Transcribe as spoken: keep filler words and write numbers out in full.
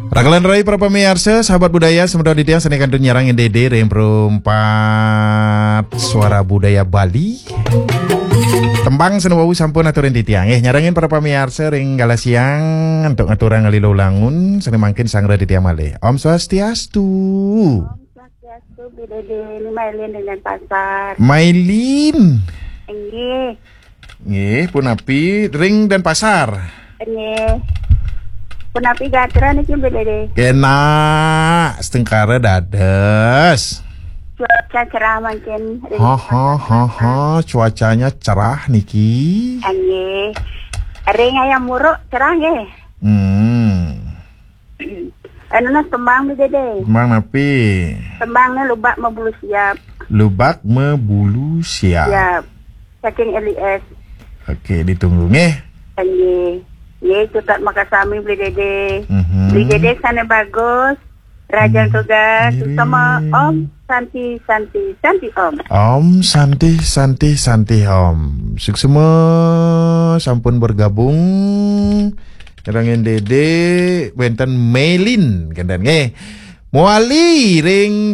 Raka lan rai para pamiarsa, sahabat budaya, semeton titiang sane kantun nyarengin Dede ring Perempat Suara Budaya Bali. Tembang sane wau sampun aturin titiang. Eh, nyarengin para pamiarsa ring galah siang antuk ngaturang lilo langun, sane mangkin sangra titiang malih. Om Swastiastu. Swastiastu, Bli Dede, ni Mailin ring Denpasar. Mailin. Inggih. Nggih, punapi ring Denpasar? Inggih. Punapi gatra niki, Bli Dede? Kenak, setengkara dados. Cuaca cerah mangkin ring Ha, ha, Denpasar. Ha, ha, cuacanya cerah niki. Inggih. Ring Hayam Wuruk cerah nggih. Hmm. Anu nah tembang, Bli Dede. Tembang napi? Tembangnya Lubak Mabulu Siap. Lubak Mabulu Siap. Siap. Saking L I S. Oke, ditunggu nggih. Nggih. Nggih, cutet makasami, Bli Dede. Mhm. Bli Dede sane bagus. Rajan Hmm. Tugas, Ngiring. Sama Om Santi, Santi, Santi Om. Om Santi, Santi, Santi Om. Suksma sampun bergabung. Nyarengin Dede, wenten Melin, kenten nggih. Mawali ring